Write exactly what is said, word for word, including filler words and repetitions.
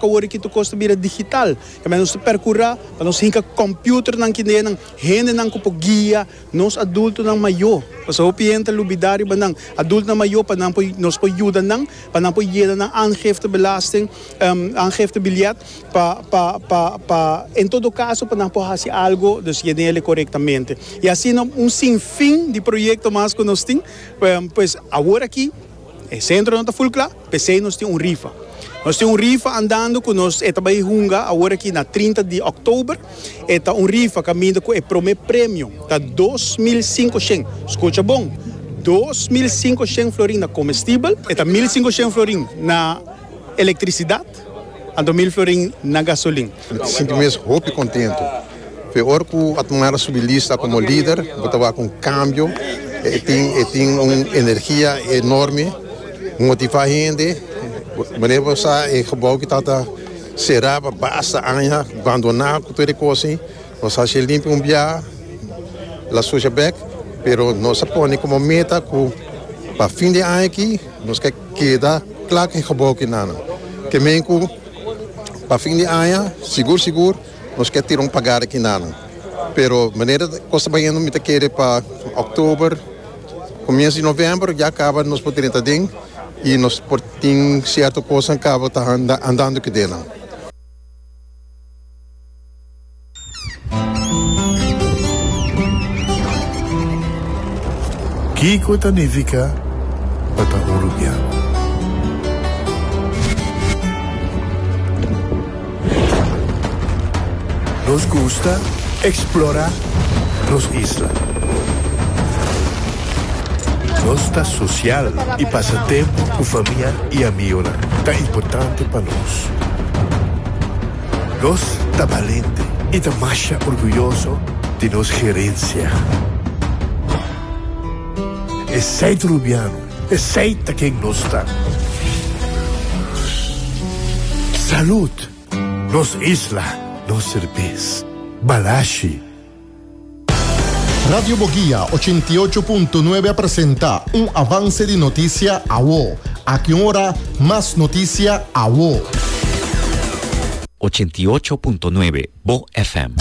Awor aki tur kos ta bira digital. Tambe nos perkurá pa nos hinka computernan akinan, hendenan ku guia nos adultonan mayó. Pasobra hopi hende ta lubidá riba nan. Adultonan mayó pa nan nos por yuda nan, pa nan por yena nan aangiftebelasting, um, aangiftebiljet pa pa pa pa en todo kaso pa nan por hasi algu, dus yen'é korektamente. I asina un sinfin di proyekto mas ku nos tin, um, pues awor aki e sentro no ta full kla, p'esei nos tin un rifa. Nos tin un rifa andando ku nos ta bai hunga awor aki na trinta di òktober. Ta un rifa kaminda ku e promé premio ta dos mil sinkushen. Skucha bon. dos mil sinkushen florin na komestibel, ta mil sinkushen florin na elektrisidat, anto mil florin na gasolin. Mi ta sinti mi hopi kontentu. Ora ku Otmar a subi lista komo lider, bo ta ku un kambio, e tin, e tin un energia enorme, motivá hende, manera bo e gebouw ku tabata será pa basta aña, abandoná ku tur kos, nos a limpi un bia, el a susha bèk, pero nos a pone komo meta ku pa fin di aña aki, nos ke keda kla ku e gebouw akinan. Ke men ku pa fin di aña, sigur sigur, nos ke tira un pagar akinan. Pero manera kos ta bayendo, mi ta kere pa òktober, komienso di novèmber, ya kaba nos por drenta aden i nos por tin sierto kos kaba ta anda, andando akinan. Kiko ta nifiká pa ta un rubiano? Nos gusta eksplorá nos isla. Nos ta sosial i pasa tempu ku famia i amigu. Ta importante pa nos. Nos ta balente i ta mas orguyoso di nos herensia. Esei ta rubiano, esei ta ken nos ta. Salud, nos isla, nos serbes. Balashi. Radio Boguia ochenta i ocho punto nuebe a presentá un avanse di notisia awo. Aki ora, mas notisia awo. ochenta i ocho punto nuebe Bo F M.